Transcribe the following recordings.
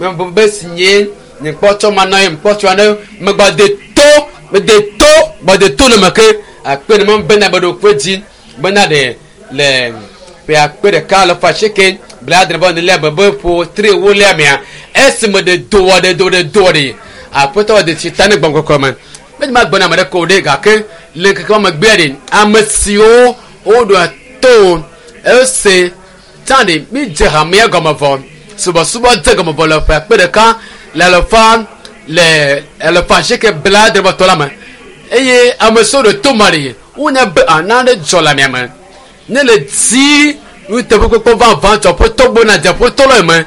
Me be si nye nye kpɔ tsɔ ma na ye kpɔ tsɔ ne me gba de to me de to gba de to le me ke akpe ne me bena be ɖo kpe dzi bena ɖe le ƒe akpe ɖeka 870 ne le be ƒo tri wo le amea esime ɖe do wɔ ɖe do ɖe do ɖe aƒetɔ ɖe tsi ta ne gbɔn kɔkɔ me me ma gbɔna ame ɖe ko ɖe gake le keke me gbea ɖe ame siwo woɖo to ese tsã ɖe mi dze hamea gɔme vɔ subɔsubɔ dze gɔme vɔ le ƒe akpe ɖeka le alafa le 870 la me eye ame siwo ɖe to ma ɖe wonya be ana ɖe dzɔ le amea me ne le dzi nuteƒekpɔkpɔ vavã dzɔ ƒetɔ gbɔna dze ƒetɔ la me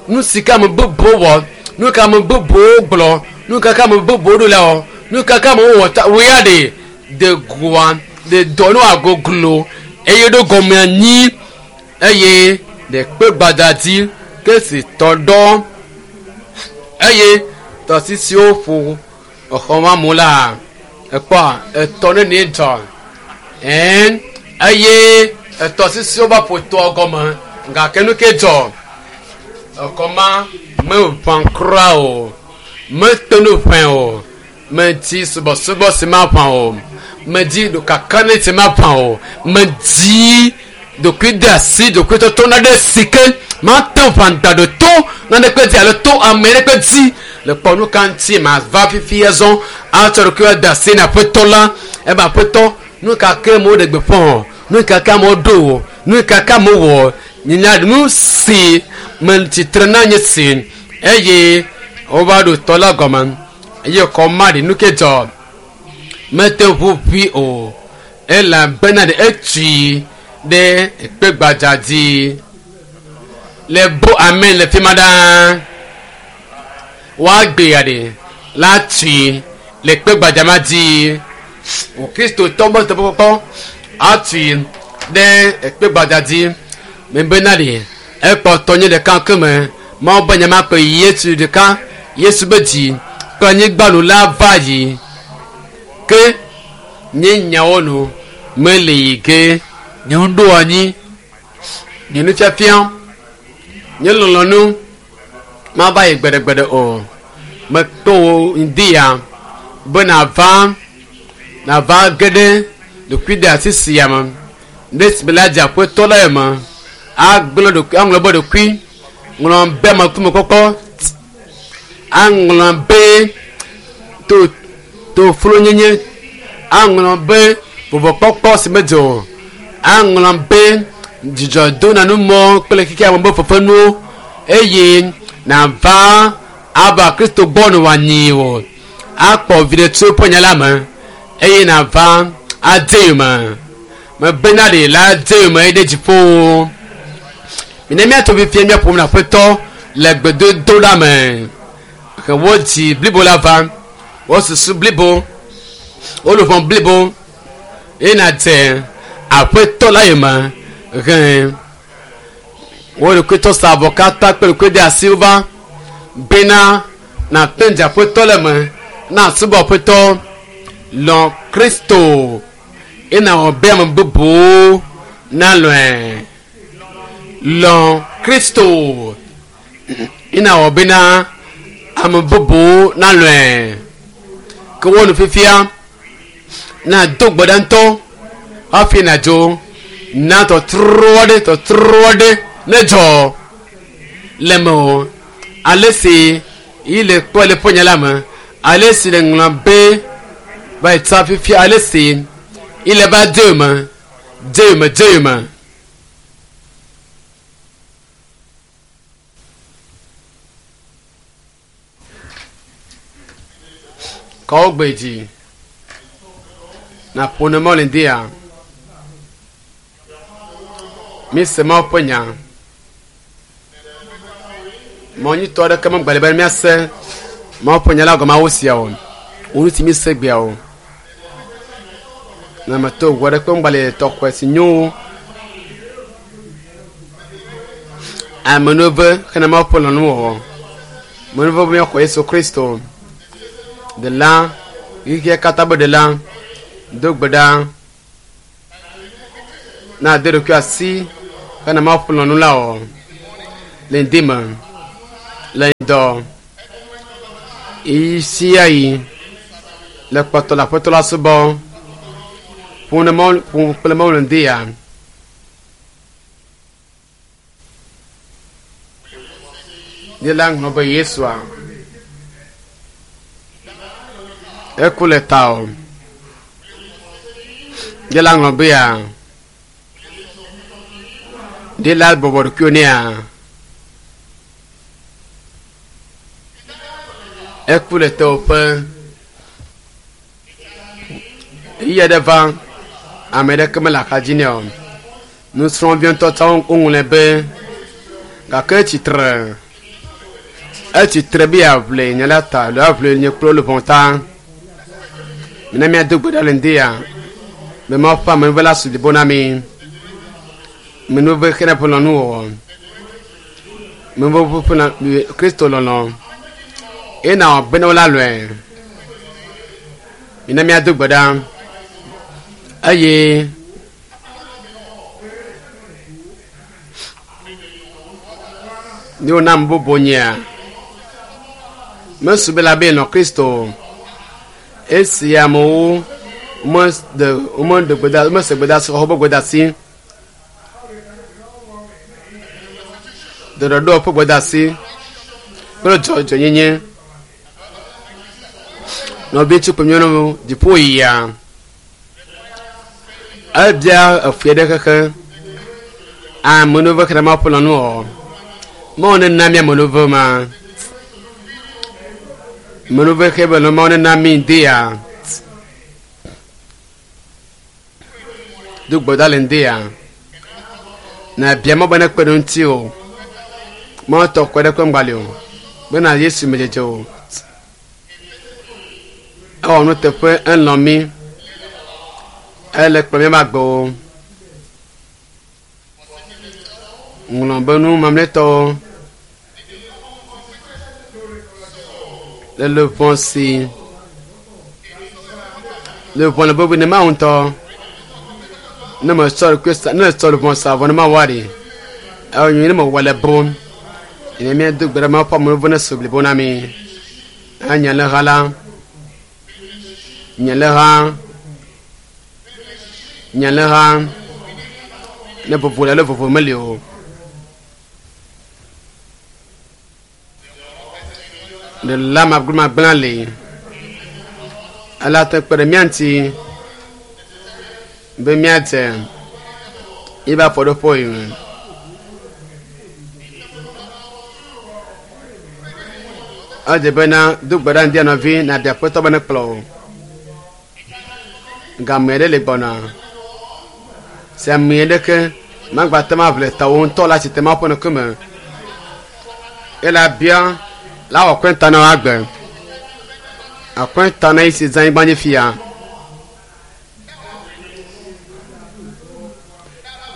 nu si ke ame bubuwo wɔ nu ka ame bubuwo gblɔ nu ka ke ame bubuwo ɖo la wɔ nu ka ke amewo wɔ ta woya ɖe de goa de dɔ no agoglo eye ɖo gɔme anyi eye ɖe kpe gbadza dzi ke si tɔ ɖɔ eye tɔsisiwo ƒo exɔ ma mu la ekpɔ etɔ ne ne dzɔ ɛn eye etɔsisiwo va ƒo tɔa gɔme gake nu ke dzɔ exɔ ma meʋã kura o mete nu ʋẽ o medzi subɔsubɔ si ma ʋã o medzi ɖokakane si ma ʋã o medzi ɖokui de asi ɖokui tɔtɔ na ɖe si ke mate ʋã da ɖo to naneke dzi alo to ame ɖeke dzi le kpɔ nu ka ŋuti ma va fifi azɔ atsɔ ɖokui de asi na aƒetɔ la ebe aƒetɔ nu ka ke amewo ɖe gbeƒã o nu ka ke amewo ɖo o nu ka ke amewo wɔ nyanya nu si me tsitre na nye si eye wova ɖo tɔ la gɔme eye xɔ ma ɖe nu ke dzɔ mete ŋu ʋui o elabena ɖe etui ɖe ekpe gbadza dzi le bo amen le fi ma ɖaa woagbe ya ɖe la tui le kpe gbadza ma dzi o kristotɔ be teƒekpɔkpɔ atui ɖe ekpe gbadza dzi mebena ɖe ekpɔtɔ nye ɖeka ke me mawu be nyama kpe yesu ɖeka yesu be dzi kple anyigba nu la va yi ke nye nyawo nu mele yi ge nye nuɖo anyi nye nufiafia nye lɔlɔnu mava yi gbeɖegbeɖe o mekpe wo ŋdi ya be nava nava ge ɖe ɖokui de asi sia me ɖe si la dze aƒetɔ la me agblɔ ɖokui aŋlɔ be ɖokui ŋlɔ be amekumekpɔkpɔ aŋlɔ be to toflonyenye aŋlɔ be vɔvɔkpɔkpɔ si medze o aŋlɔ be dzidzɔdonanumɔ kple xexea me be fefenuwo eye nava ava kristo gbɔ ne wòanyi o akpɔ viɖe tso eƒe nya la me eye nava ade yome mebena ɖe la de yome ɖe dziƒo mine míatɔ fifia míaƒom na aƒetɔ le gbedodoɖa me ke wo dzi blibo la va wo susu blibo wo luʋɔ blibo eye nadze aƒetɔ la yome he wo ɖokuitɔ sa avɔ katã kple ɖokui de asi va bena nàte dze aƒetɔ le me na subɔ aƒetɔ lɔ kristo eye nàwɔ be ame bubuwo nalɔe lɔ kristo eye nàwɔ bena ame bubuwo nalɔe ke wo nu fifia na do gbe ɖa ŋutɔ hafi nàdzo na tɔtrɔ aɖe tɔtrɔ aɖe ne dzɔ le me o ale si yi le kpɔ le ƒe nya la me ale si le ŋlɔ be va yi tsa fifia ale si yi le va de me de me de me. Kɔwo gbe dzi naƒo ne mɔli dia mi se Mawu ƒe nya mɔ nyuitɔ aɖeke megbale be míase Mawu ƒe nya la gɔme awu sia o wo nu si mi se gbea o na meto ʋu aɖeke megbale tɔxɔe si nyo wu amenuve hena Mawu ƒe lɔlɔ̃nu wɔwɔ menuve be míaxɔ Yesu Kristo ɖela xexea katã be ɖela do gbe ɖa na de ɖokui asi hena Mawu ƒe lɔlɔ̃nu la o le ŋdi me. Le ŋdɔ ɣi sia ɣi le kpɔtɔ le aƒetɔ la subɔ ƒo ne Mawu ƒo kple Mawu le ŋdi ya. Ye la ŋlɔ be Yesua eku le ta o. Ye la ŋlɔ be ya ɖe la bɔbɔ ɖokuiwo nɛa. Eku le tewòƒe. Ɣeyiɣi aɖe va, ame aɖeke mele axadzi nɛ o. Nusrɔ̃vi ŋutɔ tsã woŋlɔe be gake etsitre. Etsitre be yeaʋli nye la ta alo aʋli nye kple luʋɔ ta. Mina míado gbe ɖa le ŋdi ya be Mawu ƒe amenuveve la su blibo na mí. Amenuveve xena ƒe lɔlɔ̃nuwɔwɔ. Amenuveve ƒe Kristo lɔlɔ̃. Eye na wòabe ne wola lɔe. Mina míado gbe ɖa eye ne wona ame bubu nyea, mesu be la be nɔ Kristo. Esi amewo meɖe womeɖe gbeda womese gbedasi xɔ woƒe gbedasi ɖɔɖɔɖo ƒe gbedasi kple dzɔdzɔenyenye. Nɔvi ŋutsu kple nyɔnuwo dziƒo yia. Ebia efui ɖe xexe. Amenuveve xexlẽ ma ƒe lɔnu o. Mawu nena mi amenuveve ma. Amenuveve xe be Mawu nena mi ŋdi ya. Do gbe ɖa le ŋdi ya. Na bia Mawu be nekpe ɖe ŋuti o. Mawu tɔ kpe ɖe kpe ŋgba li o. Bena Yesu me dzedze o. Ewɔ nuteƒe elɔ̃ mí. Ele kplɔ míaƒe agbewo. Ŋlɔ be nu mamlɛtɔwo le luʋɔ si luʋɔ le bɔbɔe ne Mawu ŋutɔ. Ne metsɔ ɖokui sa ne metsɔ luʋɔ sa vɔ ne Mawu ɖi. Ewɔ nyui ne mewɔ le bo. Ne míado gbe ɖa Mawu ƒe amewo ne su blibo na mí. Anye le ha la. Nye le ha. Nye le ha. Ne vovo le alo vovo meli o. Ɖela magblẽmagblẽ li. Ele ate kpe ɖe mía ŋuti be míadze yiƒe afɔɖoƒe yi me. Edze bena do gbe ɖa ŋdi nɔvi nàbia Aƒetɔ be nekplɔ wò. Game ɖe li gbɔna si ame aɖeke magbate ŋu aʋli tawò ŋutɔ le atsitre Mawu ƒe ŋkume. Ele abia la wɔ akɔnta na wò agbe. Akɔnta na yi si zã anyigba dzi fia.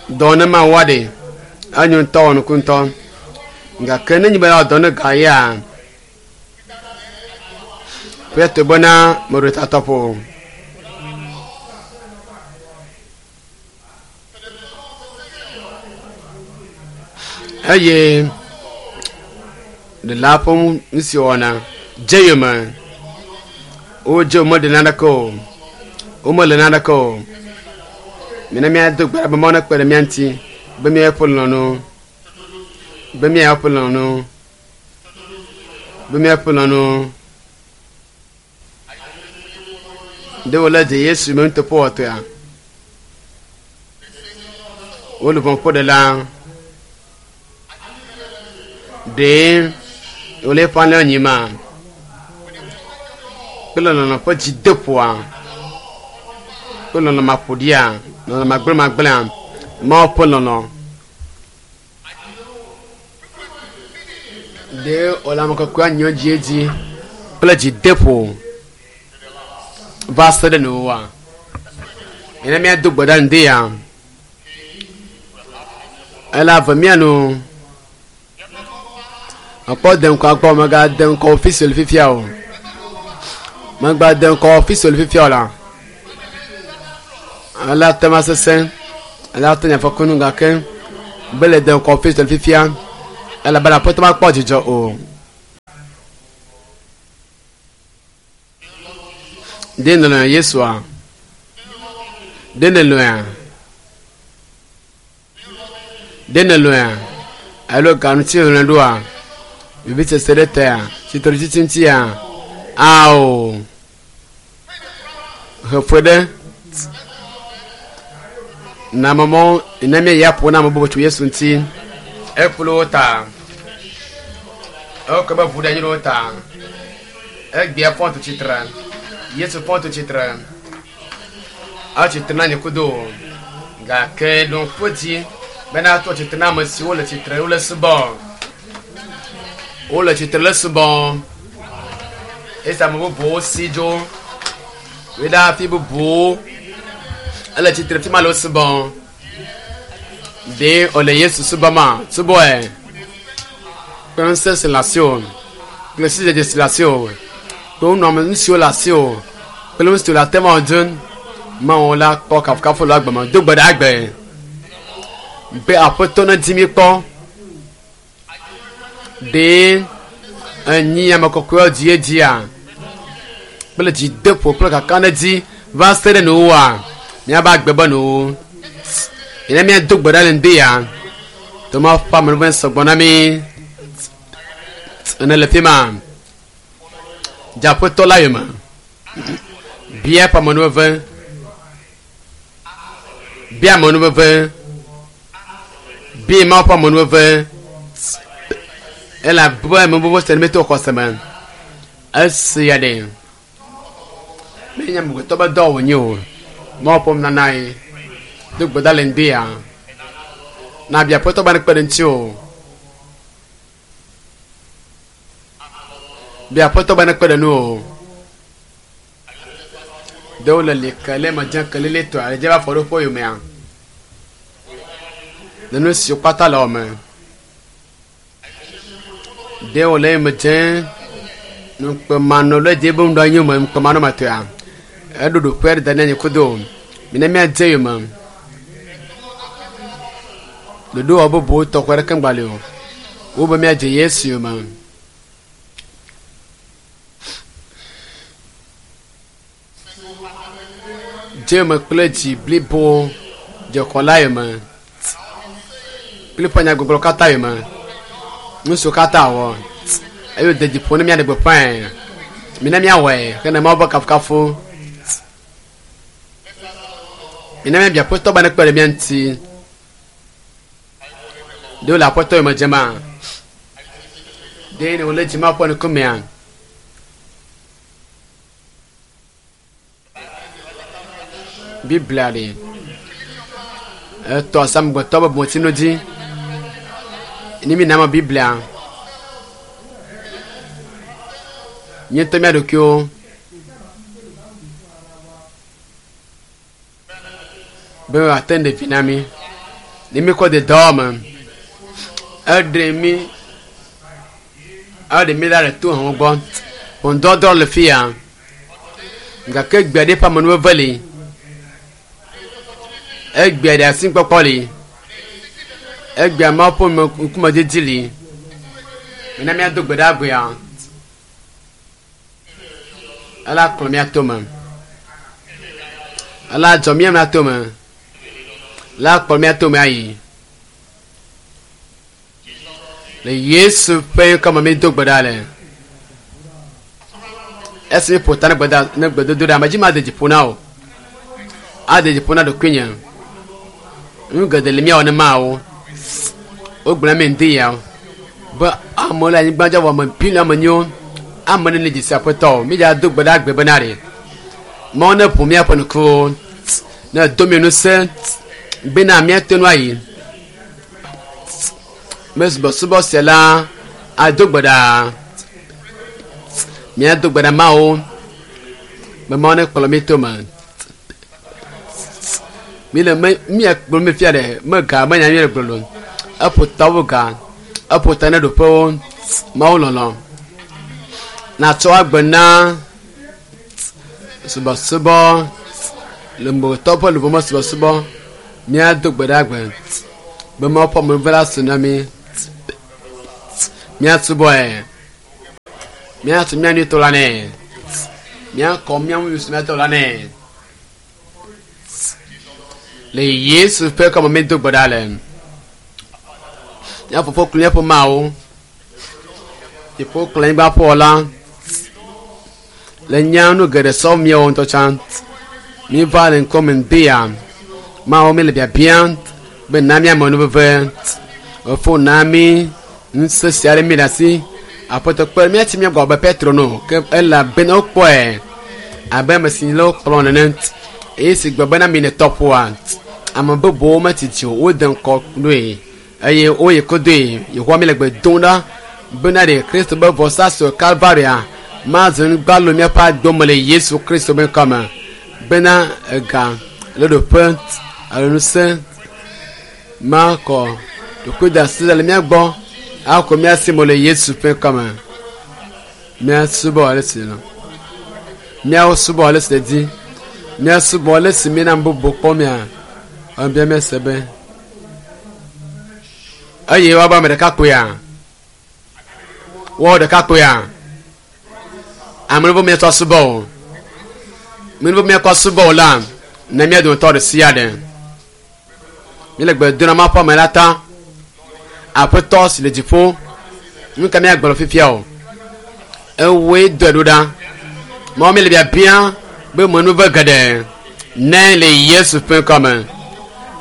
Dɔ ne Mawu ɖe enyo ŋutɔ wɔ nuku ŋutɔ. Gake ne nye be yeawɔ dɔ ne ga ya ƒe bena meɖo tatɔƒo o. Eye ɖela ƒe nu si wɔna dze yome. Wodze womeɖe naneke o. Womele naneke o. Mina míado gbe ɖa be Mawu nekpe ɖe mía ŋuti be míaƒe lɔlɔ̃nu be míaƒe lɔlɔ̃nu be míaƒe lɔlɔ̃nu. Ɖe wòle dze Yesu me nuteƒewɔtɔea? Wo luʋɔ ƒo ɖe la. Ɖe wòle eƒe alẽwo nyima kple lɔlɔ̃ ƒe dzideƒoa kple lɔlɔ̃ maƒoɖia, lɔlɔ̃ magblẽmagblẽa, Mawu ƒe lɔlɔ̃. Ɖe wòle ame kɔkɔea nyɔ edziedzi kple dzideƒo va se ɖe nuwuwua? Mina míado gbe ɖa ŋdi ya. Ele ave mía nu. Mekpɔ de ŋkɔ akpɔ megade ŋkɔ official fifia o. Megbade ŋkɔ official fifia o la. Ele ate ma sesẽ. Ele ate nye afɔkunu gake be le de ŋkɔ official fifia elabena aƒetɔ makpɔ dzidzɔ o. Ɖe nèlɔ̃ Yesua? Ɖe nèlɔ̃a? Ɖe nèlɔ̃a? Alo ga ŋuti nèlɔ̃e ɖoa? Vivisese ɖe tea? Tsitretsitsi ŋutia? Ao. Heƒoe ɖe. Na ame mɔ ne míayi aƒo na ame bubu tso Yesu ŋuti. Ekplɔ wo ta. Ewɔ ke be ʋu ɖe anyi ɖe wo ta. Egbea fɔ tu tsitre. Yesu fɔ tu tsitre. Etsitre na nye kudo. Gake ɖo ŋku edzi bena to tsitre na ame siwo le tsitre wole subɔ. Wole tsitre le subɔ. Esi ame bubuwo si dzo. Yi ɖe afi bubuwo. Ele tsitre fi ma le wo subɔ. Ɖe wòle Yesu subɔma? Subɔe. Kple ŋusẽ si le asiwò. Kple sidzedze si le asiwò. Kple nunɔame nu siwo le asiwò. Kple nu siwo le ate ŋu awɔ dzi. Mawu la kpɔ kafukafu le agbe me. Do gbe ɖa agbe. Be Aƒetɔ nedi mí kpɔ. Ɖe enyi ame kɔkɔewo dzi edzia? Kple dzideƒo kple kakaɖedzi va se ɖe nuwòa? Míava agbe be nuwo. Ne míado gbe ɖa le ŋdi ya, to Mawu ƒe amenuveve sɔgbɔ na mí. Ene le fi ma. Dze Aƒetɔ la yome. Bia eƒe amenuveve. Bia amenuveve. Bia Mawu ƒe amenuveve. Elabe amenuveve sia ne míeto xɔse me. Esia ɖe. Menye amegbetɔ be dɔ wònye o. Mawu ƒe nunana ye. Do gbe ɖa le ŋdi ya. Na bia Aƒetɔ be nekpe ɖe ŋutiwò. Bia Aƒetɔ be nekpe ɖe ŋuwò. Ɖewo le li ke le me dze kelilitɔe ale dze va afɔ ɖoƒe yomea. Le nu siwo kpata le wɔme. Ɖewo le eme dze nukpemanɔ le dze be ŋɖɔ nyo me nukpemanɔ me tɔa. Eɖo ɖoƒe aɖe da ɖe anyi kudo. Mina míadze yome. Ɖoɖowɔ bubuwo tɔxɛ ɖeke ŋgba li o. Wobe míadze Yesu yome. Dze yome kple dzi blibo dze xɔla yome. Kple eƒe nyagbɔgblɔ katã yome. Nu siwo katã wɔ. Eye wòde dzi ƒo ne míaɖe gbeƒãe. Mina míawɔe hena Mawu ƒe kafukafu. Mina míabia Aƒetɔ be nekpe ɖe mía ŋuti. Ɖe wole Aƒetɔ yome dzema? Ɖe wòle dzima ƒe ŋkumea? Biblia ɖe etɔ asi amegbetɔ be bometsinu dzi. Ne mína eme Biblia, míetɔ mía ɖokuiwo. Be wòate ŋu ɖe vi na mí. Ne míekɔ de dɔwɔwɔ me, eɖe mí, eɖe mí ɖa le tohewo gbɔ. Ʋɔnudɔdrɔ̃ le fi ya gake gbe aɖe ƒe amenuveve li. Egbea ɖe asikpɔkpɔ li. Egbea Mawu ƒe ŋkume didi li. Mina míado gbe ɖa egbea. Ela kplɔ mía tome. Ela dzɔ mía mía tome. La kplɔ mía tome ayi. Le Yesu ƒe ŋkɔ me mído gbe ɖa le. Esi míeƒo ta ne gbeda ne gbedodoɖa, medzi made dzi ƒo na wò. Ade dzi ƒo na ɖokuinye. Nu geɖe li míawɔ ne Mawu. Wogblɔ na mí ŋdi ya be amewo le anyigba dzi vɔ ame biliɔn ame nyiwo. Ame nene dzi si Aƒetɔ o. Mídza do gbe ɖa agbe bena ɖe Mawu ne ʋu míaƒe ŋkuwo, ne do mí ŋusẽ bena míate ŋu ayi. Me subɔsubɔ sia la ado gbe ɖa. Míado gbe ɖa Mawu be Mawu ne kplɔ mí to me. Míle me míakplɔ mí fia ɖe me ga me nya míele gblɔ Eƒo tawo ga, eƒo ta ne ɖoƒewo. Mawu lɔlɔ. Natsɔ agbe na subɔsubɔ le amegbetɔ ƒe luʋɔ me subɔsubɔ. Míado gbe ɖa agbe be Mawu ƒe amenuveve la su na mí. Míasubɔe. Míatu mía nyuitɔ la nɛ. Míakɔ mía ŋu míatɔ la nɛ. Le Yesu ƒe kɔme mi do gbe ɖa le. Mía fofo kple míaƒe Mawu, dziƒo kple anyigba ƒe wɔla, le nya nu geɖe sɔm míawo ŋutɔ tsã. Míva le ŋkɔme ŋdea, Mawu mi le biabia be na míame nu veve. Efo na mí ŋusẽ sia ɖe mí ɖe asi. Aƒetɔ kpe míatsi mía gbɔ abe Petro no ke elabena wokpɔe abe ame si le wokplɔ nene. Eye si gbe bena mi ne tɔƒoa, ame bubuwo metsi o, wode ŋkɔ ɖoe eye woyi kodoe. Yehowa mi le gbe dom ɖa bena ɖe Kristo be vɔsa si wɔ Kalvaria mazu nugbalo míaƒe agbe me le Yesu Kristo be ŋkɔme bena ega le ɖoƒe alo ŋusẽ makɔ ɖokuidasi le mía gbɔ akɔ mía si me le Yesu ƒe ŋkɔme. Míasubɔ ale si lɔ. Míawo subɔ ale si le di. Míasubɔ ale si míena bubu kpɔ mía. Ebia míase be eye woabe ame ɖeka kpoea. Woawo ɖeka kpoea. Ame ɖewo míatsɔ subɔ o. Ame ɖewo míakɔ subɔ o la, ne mía dometɔ ɖe sia ɖe. Míele gbe dom na Mawu ƒe ame la ta. Aƒetɔ si le dziƒo, nu ka míagblɔ fifia o? Ewòe dɔe ɖo ɖa. Mawu míele biabia be menuve geɖe ne le Yesu ƒe ŋkɔme.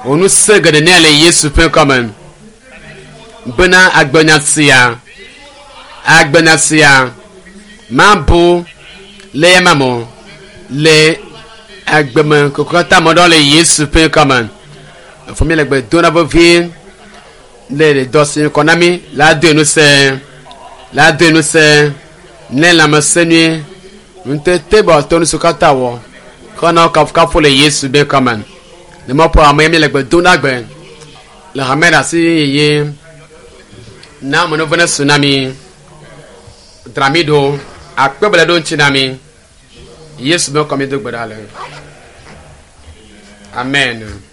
Wò ŋusẽ geɖe ne le Yesu ƒe ŋkɔme. Bena agbenya sia, agbenya sia mabu le ya me o le agbeme koko katã me ɖɔ le Yesu ƒe ŋkɔme. Efo mi le gbe dom na vevie le dɔ si kɔ na mi la doe ŋusẽ la doe ŋusẽ ne lãmesẽ nyuie ŋutete bɔ to nusiwo katã wɔ kɔ na kafukafu le Yesu be ŋkɔme. Le mɔƒo ame mi le gbe dom na gbe le hame ɖe asi yeye na amenuveve ne su na mi dzra mi ɖo akpe bele ɖo ŋuti na mi. Yesu be ŋkɔ mi do gbe ɖa le. Amen.